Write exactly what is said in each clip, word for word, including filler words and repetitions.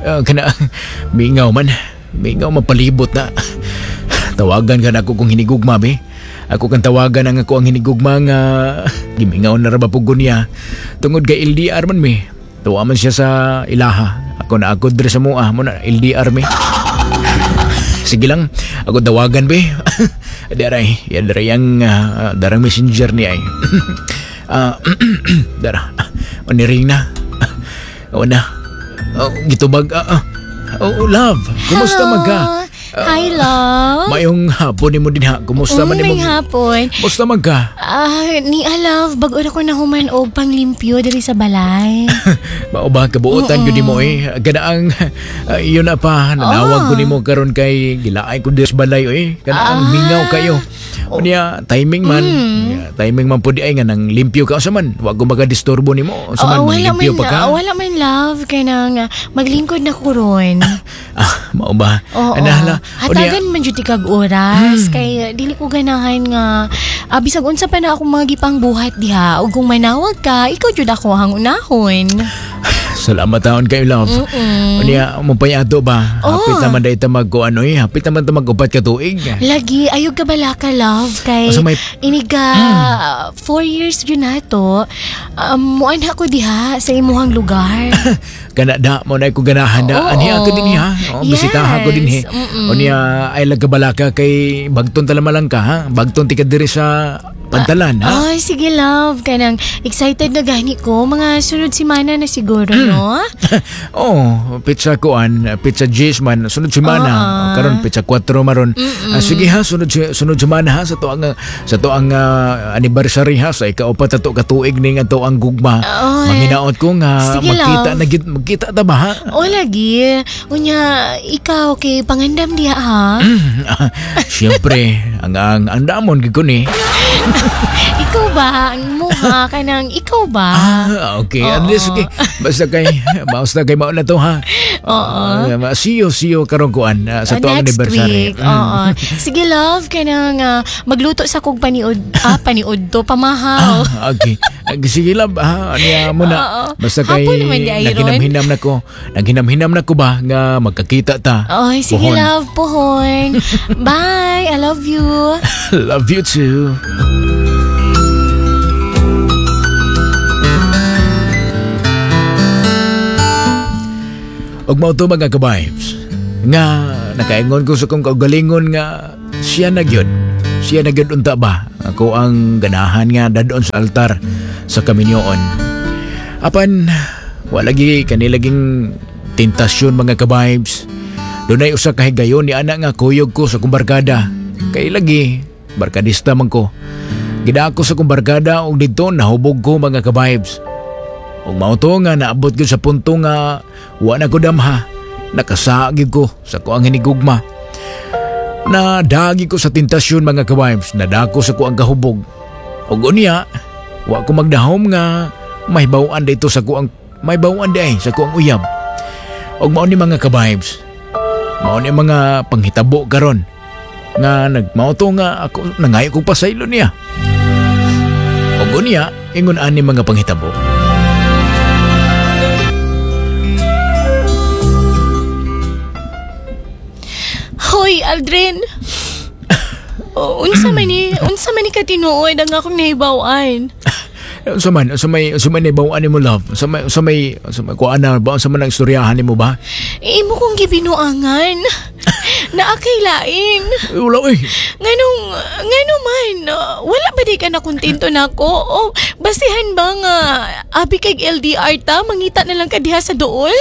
Uh, kana mingaw man. Mingaw mapalibot na. Tawagan ka na ako kung hinigugma be. Ako kang tawagan ang ako ang hinigugma nga gimingaw na ra ba pug niya. Tungod kay L D R man mi. Tuwa man siya sa ilaha. Ako na ako diri sa mua mo na L D R mi. Sige lang, ako tawagan be. Daray, yan daray ang uh, darang messenger niya ay. uh, dara, oniring na. O na. Oh, gitubag. Uh, uh. Oh, love, kumusta man ka? Hi, love. Mayong hapon nimo din ha. Kumusta man nimo? Mayong hapon. Kumusta man ka? Ah, ni ah, love, bag-o na ko nahuman og panglimpyo diri sa balay. Mao ba kabuotan gyud nimo eh. Kanaang uh, yun na pa nanawag Oh. ko nimo karon kay gilaay ko diri sa balay oy. Kanaang Ah. mingaw kayo. Unya timing man, Mm. Yeah, timing man pud ay nga nang limpyo ka unsa man. Wa ko magadisturbo nimo. Unsa man Oo, wala limpyo man, pa ka. ah, wala man love kay nang ah, maglingkod na ko ron. Ah, mao ba? Oo. Anahala. Hatagan man jud kag oras kay dili ko ganahan nga ah, bisag unsa pa na akong mga gipangbuhat diha ug kung manawag ka ikaw jud ako ang unahon. Salamat taon kayo, love. Mm-mm. Unya mo payato ba? Oo. Hapit naman dahil ta mag ano eh. Hapit naman ta mag-upat ka tuig. Lagi ayog ka bala ka love kay Asa may- iniga four years jud na to. Um, muanha ko diha sa imuhang lugar. Kana da mo na ko ganahan da. Oo. Ani ako din ha. Oh, bisitaha ko din he. Yes. Mm-mm. Unya ay lagkabalaka kay bagton talamalang ka ha. Bagton ti ka diri sa Pantalan ha. Ay, sige love. Kanang excited na gani ko. Mga sunod semana na siguro, no? oh, pizza kuan, pizza G's man, sunod semana. Oo. Karon pizza four maron. Ah, sige ha, sunod sunod semana ha sa to ang sa to ang ah, anniversary ha sa ikaupat ato ka tuig ning ato ang gugma. Oo. Manginaot ko nga Sige, magkita love. na gid magkita ta ba ha? O lagi. Unya, ikaw kay pangandam diha ha. Siyempre, ang ang ang damon gid ko ni. Ikaw ba? Ang mukha ka ng ikaw ba? Ah, okay. At least, okay. Basta kay, basta kay mauna to ha. Oo. Uh, see you, see you karon kuan uh, sa Ah, tuang next anniversary. week. Oo. Sige love, kanang ah, magluto sa kog paniod, ah, paniod to, pamahaw. Ah, okay. Sige love, ha, niya muna. Oo. Basta kay Hapon naman di ay ron. naghinam-hinam na ko. Naghinam-hinam na ko ba nga magkakita ta. Ay, sige Puhon. love, puhon. Bye, I love you. Love you too. Ug mao to mga ka-vibes nga nakaingon ko sa kong kaugalingon nga siya na gyud. Siya na gyud unta ba? Ako ang ganahan nga dadon sa altar sa kaminyoon. Apan wala gi kanilaging tentasyon mga ka-vibes. Dunay usa ka higayon ni ana nga kuyog ko sa kong barkada. Kay lagi barkadista man ko. Gidako sa kong barkada og didto nahubog ko mga ka-vibes. Ug mao to nga naabot gyud sa punto nga wa na ko damha. Nakasaagi ko sa ko ang hinigugma. Nadagi ko sa tentasyon mga ka-vibes. Nadako sa ko ang kahubog. Ug unya, wa ko magdahom nga mahibaw-an dito sa ko ang mahibaw-an di ay sa ko ang uyab. Ug mao ni mga ka-vibes. Mao ni mga panghitabo karon nga nagmao to nga ako nangayo kog pasaylo niya. Ug unya, ingon ani mga panghitabo. Hoy, Aldrin. Oh, unsa man ni, unsa man ni katinuod ang akong nahibaw-an? Unsa man, unsa may unsa may nahibaw-an nimo love? Unsa may unsa may unsa may kuan na ba unsa man ang istoryahan nimo ba? Imo kong gibinuangan. Naa kay lain. Eh, wala oy. Nganong ngano man, wala ba di ka na kontento nako? O basihan ba nga abi kay L D R ta, mangita na lang ka diha sa duol?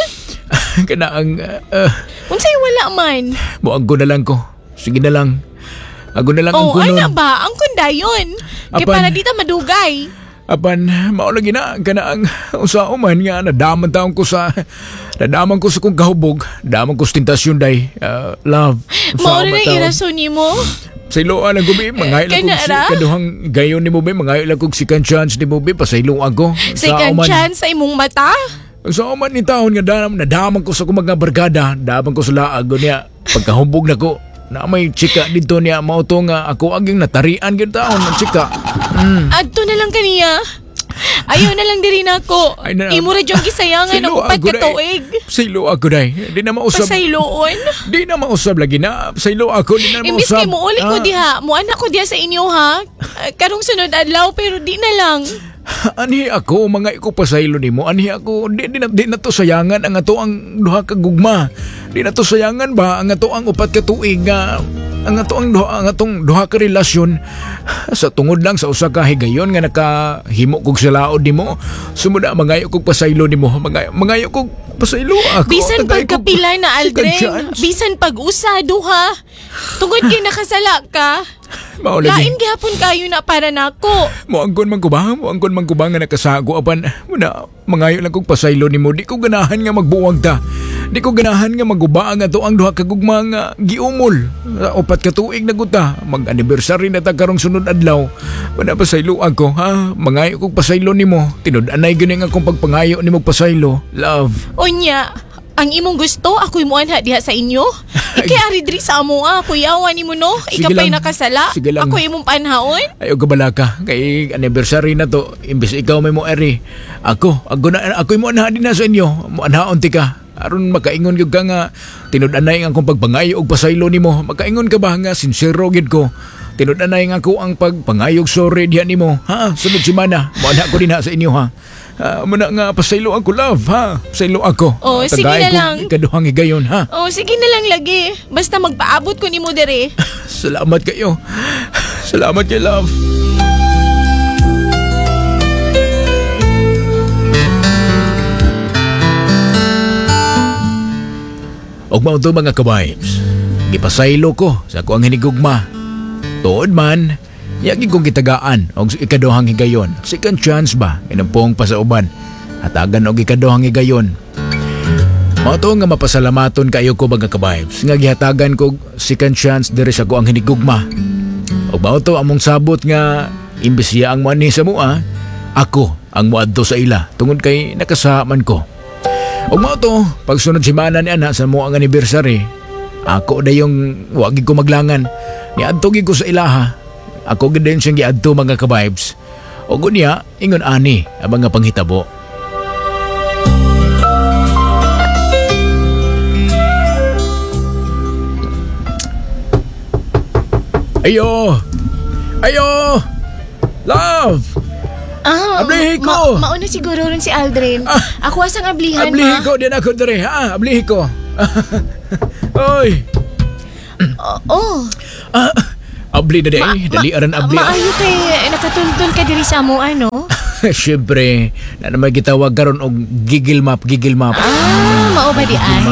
Kana ang uh, Unsay wala man? Muag ko na lang ko. Sige na lang. Ago na lang ang Oh, kunon. ana ba? Ang kundayon. Kay Apan. para di ta madugay. Apan, mao lagi na kana ang usa man nga nadaman taon ko sa nadaman ko sa kong kahubog, daman ko sa tentasyon day. Uh, love. Mao na irason nimo. Sa iloan ang gubi, mangayo lang kog si kaduhang gayon nimo be, mangayo lang kog second chance nimo be, pasayloan ko. Second chance sa imong mata? Sa man ni taon nga dam, nadaman ko sa kong mga barkada, daman ko sa laag niya. Pagkahubog na ko, na may chika dito niya, mao to nga ako aging natarian gyud taon ng chika. Mm. Adto na lang kaniya. Ayaw na lang diri nako. Ay, na- Imo ra jud gisayangan ang upat ka tuig. Saylo ako day. Di na mausab. Pasayloon. Di na mausab lagi na. Saylo ako, di na mausab. Imbis kay muuli ko Ah. diha, muanak ko diha sa inyo ha. Ah, Karong sunod adlaw pero di na lang. Anhi ako, mga iko pasaylo nimo. Anhi ako, di, di, na, di na to sayangan ang ato ang duha ka gugma. Di na to sayangan ba ang ato ang upat ka tuig nga ang ato ang duha, ang atong duha ka relasyon sa tungod lang sa usa ka higayon nga nakahimo kog sa laod nimo. Sumuna mangayo kog pasaylo nimo, mangayo, mangayo kog pasaylo ako. Bisan Tagay kog pagkapila na second Aldrin, chance. bisan pag-usa duha. Tungod kay nakasala ka. Mao lagi. Lain gihapon kayo na para nako. Moangkon man ko ba? Moangkon man ko ba nga nakasago apan muna mangayo lang kog pasaylo nimo. Di ko ganahan nga magbuwag ta. Di ko ganahan nga maguba ang ato ang duha ka gugma nga giumol. Sa upat ka tuig na guta. Mag-anniversary na ta karong sunod adlaw. Muna pasaylo ako ha. Mangayo kog pasaylo nimo. Tinud-anay gyud ang akong pagpangayo nimo pasaylo. Love. Unya, ang imong gusto, ako'y muanha diha sa inyo. Ikay ari diri sa amo ah, kuyawa nimo no. Sige Ika pa'y lang. nakasala. Sige lang. Ako'y imong panhaon. Ayaw ka balaka. Kay anniversary na to. Imbes ikaw may mo eri. Ako, ako na, ako'y mo anha din na sa inyo. Mo anhaon ti ka. Aron makaingon gyud ka nga tinud-anay ang akong pagpangayo og pasaylo nimo. Makaingon ka ba nga sincero gyud ko. Tinud-anay nga ako ang pagpangayog sorry diha nimo. Ha? Sunod semana. Mo anha ko din ha sa inyo ha. Uh, muna nga pasaylo ako love ha. Pasaylo ako. Oh, sige Tagay na ko lang. Ikaduhang higayon ha. Oh, sige na lang lagi. Basta magpaabot ko nimo diri. Salamat kayo. Salamat kay love. Og mao to mga ka-vibes. Gipasaylo ko sa ako ang hinigugma. Tuod man, yagi kong gitagaan og ikaduhang higayon. Second chance ba? Inumpong pa sa uban. Hatagan og ikaduhang higayon. Mao to nga mapasalamaton kayo ko mga ka-vibes. Nga gihatagan ko second chance diri sa ako ang hinigugma. Og mao to among sabot nga imbes siya ang moanhi sa mua, ako ang moadto sa ila tungod kay nakasaman ko. Og mao to, pagsunod semana ni ana sa mo ang anniversary, ako dayong wa gid ko maglangan. Niadto gid ko sa ilaha. Ako gid din siyang giadto mga ka-vibes. Og unya, ingon ani ang mga panghitabo. Ayo! Ayo! Love! Ah, Ablihi ko! Ma- mauna siguro ron si Aldrin. Ah. Ako asang ablihan Ablihi ma. ko, diyan ako dere, ha? Ablihi ko. Oy! Oh, oh. Ah, abli na di, eh. Dali aran abli. Maayo kay nakatultol ka diri sa amo ano? Siyempre, na naman gitawag karon og giggle map, giggle map. Ah, mao ba di ay?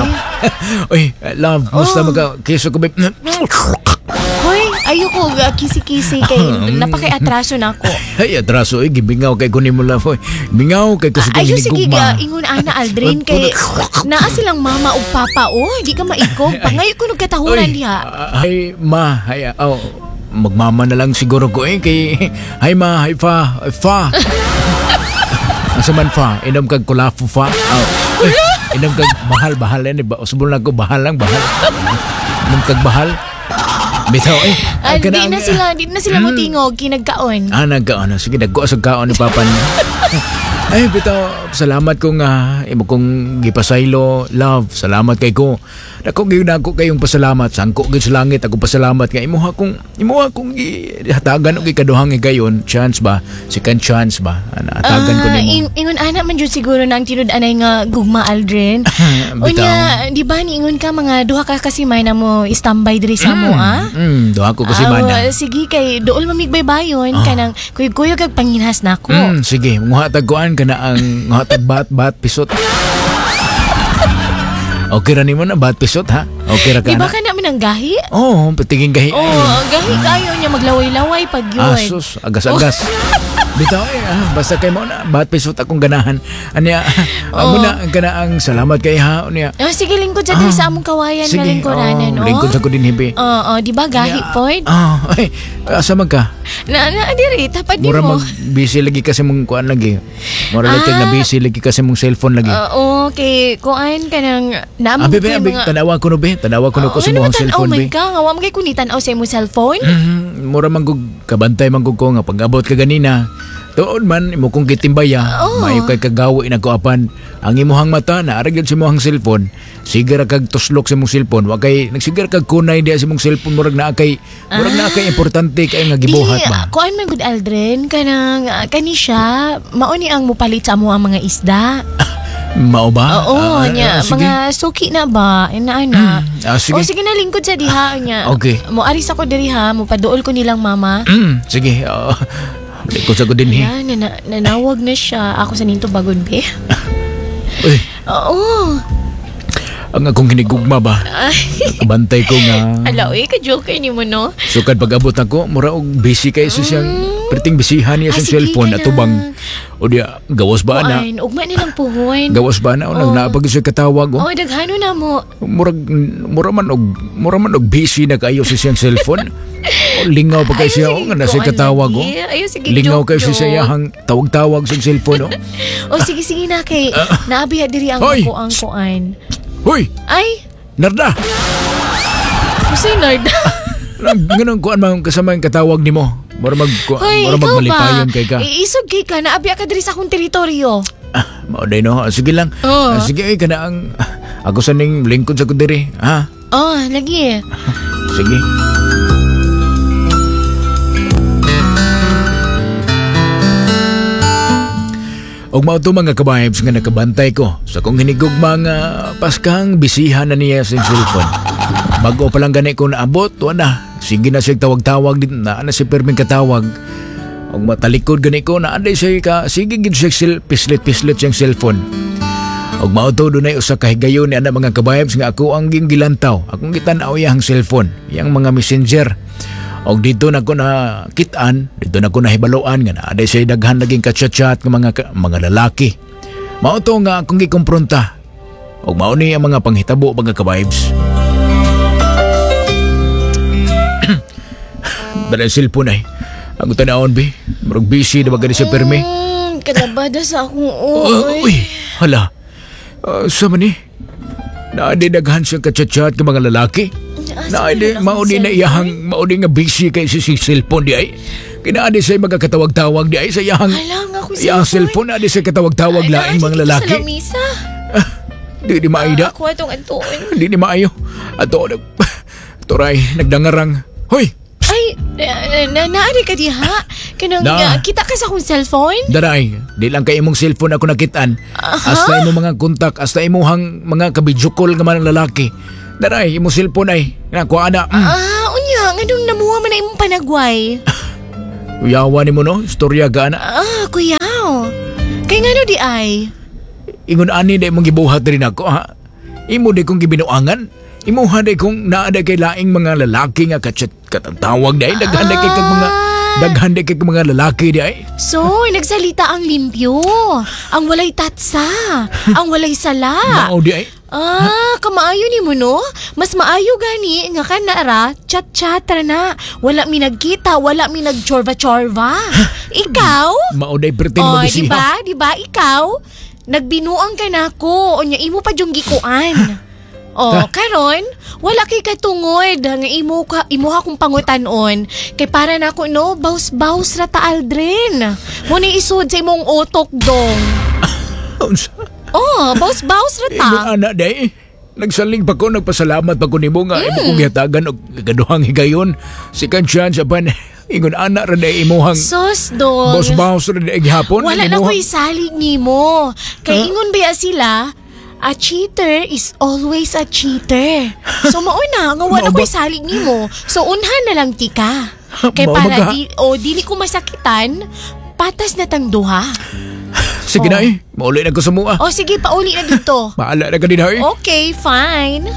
Oy, love, musta Oh. magka keso ko ba? Hoy, ayoko ga kisi-kisi kay napakay-atraso na ako. Ay, atraso, eh, gibingaw kay kunin mo love. Oy, bingaw kay ko sa Ayo sige hinigugma. ga ingon ana Aldrin kay naa silang mama ug papa oh, di ka maikog. Pangayo ko katahuran Oy, diha. ah, Ay, ma, ay, ah, oh, magmama na lang siguro ko eh kay hay ma, hay fa, ay, fa. Asa man fa, inom kag kulafo fa. Oh. Ay, inom kag bahal bahal yan, ba? Usbol na ko bahal lang bahal. Inom kag bahal. Bitaw eh. Ah, di kanang- na sila, di na sila Mm. motingog kinagkaon. Ah, nagkaon. Sige, nagko sa kaon ni Papa niya. Ay, bitaw, salamat ko nga. Imo kong gipasaylo, love. Salamat kay ko. Dako gyud ako kayong pasalamat. Sangko gyud sa langit ako pasalamat nga imo akong imo akong gihatagan og ikaduhang higayon. Chance ba? Second chance ba? Ana, hatagan ko Ah, nimo. ing- ingon ana man jud siguro na ang tinud-anay nga gugma Aldrin. Bitaw. Unya, di ba niingon ka mga duha ka kasi may na mo standby diri sa mo ah? Mm, duha ko kasi Ah, mana. sige kay dool mamigbaybayon Ah. kanang kuyog-kuyog kag panginhas nako. Mm, sige, nguhatag kuan kana ang nguhatag bat bat pisot. Okay ra nimo na bat pisot ha. Okay ra ka Di ba na. ka naman ang gahi? Oh, patingin gahi. Oh, gahi kayo niya maglaway-laway pag yun. Asus, agas-agas. Bitaw eh, ah, basta kay mo na, bat pisot akong ganahan. Anya, oh. Oh. na, kana ang salamat kay ha, unya. Ah, sige, lingkod sa diri sa among kawayan nga lingkuranan, oh, oh. lingkod sa ko din hibi. Oo, di ba gahi pod? Ah, ay, asa man ka? Na na diri tapad Mura nimo. mag busy lagi kasi mong kuan lagi. Mura lagi Ah. na busy lagi kasi mong cellphone lagi. Oo, kay kuan kanang naamang Abi, abi, abi, tanawa ko no be, tanawa ko no ko Oh, sa ano mga imong Tanaw cellphone man be. ka nga wa man kay kuni tan-aw sa imong cellphone. Mm, mura man gug kabantay man gug ko nga pag-abot ka ganina. Tuod man imo kong gitimbaya, Oo. maayo kay kagawi na ko apan ang imuhang mata na ara gyud sa imuhang cellphone. Sige ra kag tuslok sa imong cellphone, wa kay nagsigar kag kunay diha sa imong cellphone murag naa kay murag naa kay importante kay nga gibuhat Dili, ba. kuan man gud Aldrin kanang ah, kani siya mao ni ang mupalit sa amo ang mga isda. Mao ba? Oo, Ah, nya ah, sige. mga suki na ba ina ana. Ah, sige. O sige na lingkod sa diha nya. Okay. Mo aris ako diri ha, mo paduol ko nilang mama. Mm, sige. Uh, lingkod sa ko din eh. Ayan, nana, nanawag na siya. Ako sa ninto bagon be. Uy, Oo. ang akong hinigugma ba? Ay, Kabantay ko nga. ala, uy, ka-joker ni mo, no? Sukad pag-abot nako, mura og busy kay sa siyang perting busyhan niya Ah, sa sige cellphone ka atubang lang. o diya gawas ba na? Kuan, ugma nilang puhon. Gawas ba na o Oh. naapag siya katawag oh. Oh, daghano na mo. Murag mura man og mura man og busy na kayo sa siyang cellphone. O, lingaw pa kay Ayaw, siya sige, o nga na siya kuan katawag oh. lagi. Ayaw, sige, Lingaw joke, kay siya sa joke. iyahang tawag-tawag sa cellphone oh. Oh, sige, sige na kay naabiya diri ang Hoy! ako ang kuan. Hoy, Ay, Narda. Kusay Narda. Nganong kuan man kasama ang katawag nimo? Mura mag kuan, Hoy, mura ikaw ba? magmalipayon kay ka. Iisog kay ka, naabiya ka diri sa akong teritoryo. Ah, mao day no. Ah, Sige lang. Oo. Ah, sige ay kana ang ako sa ning lingkod sa ko diri. Ha? Oh, lagi. Sige. Og mao to mga kabibes nga nakabantay ko sa kong hinigugma nga paskang bisihan na niya sa cellphone. Bago pa lang gani ko naabot, wa na. Sige na siya tawag-tawag din na na si perming katawag. Og matalikod gani ko na anday siya ka sige gid siya sil, pislit-pislit siyang cellphone. Og mao to dunay usa ka higayon ni ana mga kabibes nga ako ang ging gilantaw. Akong gitan-aw iyang cellphone, iyang mga messenger. Og dito na ko na kit-an, dito na ko nahibaluan nga naa siya daghan naging ka-chat-chat nga mga ka- mga lalaki. Mao to nga akong gikompronta. Og mao ni ang mga panghitabo mga kabibes. Dala ang cellphone ay. Ang tanawon bi, murag busy na ba gani siya permi? Mm, kalabada sa akong Oh, uy. uy, hala. Uh, sa man ni? Naadi daghan siyang ka-chat-chat nga mga lalaki. Asa Naadi, man akong mauni na cellphone? iyahang, mauni nga busy kay si si cellphone di ay. Kinaadi siya magkatawag-tawag di ay sa iyahang, Hala, nga akong iyahang cellphone, naadi siya katawag-tawag Ay, laing naa, mga dito lalaki. Sa lamisa. Di di maida. Ako atong antuon. Di ni maayo. Ato, nag, turay, nagdangarang. Hoy, Ay, na, na, naari ka diha. Kanang, Na. ah, kita ka sa akong cellphone? daray, di lang kay imong cellphone ako nakitaan. Hasta imong mga kontak, hasta imuhang mga ka-video call nga mga lalaki. Daray, imong cellphone ay, nakuha na. Mm. Ah, unya, nganong namuha man na imong panagway? Uyawa ni mo no, istorya ka na. Ah, kuyaw. Kay ngano di ay? Ingon ani di mong gibuhat rin ako ha. Imo di kong gibinuangan. Imuha di kong naa di kay laing mga lalaki nga kachat katantawag di ay. Daghan di kay kag mga daghan di kay kag mga lalaki di ay. So, nagsalita ang limpyo. Ang walay tatsa. Ang walay sala. Mao di ay. Ah, kamaayo ni mo no? Mas maayo gani nga ka na ra, chat-chat ra na. Wala mi nagkita, wala mi nagchorva-chorva. Ikaw? Mao di perting Oh, mabisiha. di ba? Di ba ikaw? Nagbinuang ka na ko, unya imo pa jung gikuan. Oh, karon wala kay katungod nga imo ka imo akong pangutan-on kay para nako no baws-baws ra ta Aldrin. Mo ni isod sa imong utok dong. Unsa? Oh, baws-baws ra ta. Ingon ana di ay. Nagsalig pa ko, nagpasalamat pa ko nimo nga imo kong gihatagan og kaduhang higayon. Second chance apan ingon ana ra di imuhang Sos dong. baws-baws ra di ay gihapon. Wala na Imuhang- ko'y salig nimo. Kay ingon ba sila, a cheater is always a cheater. So mauna, nga wala Mao ba? ko'y salig nimo. So unhan na lang tika. Kay Mao ba para ka? di, o dili ko masakitan, patas na tang duha. Sige na eh. Mauli na ko sa mua. O sige, pauli na dito. Maala na ka din ay. Okay, fine.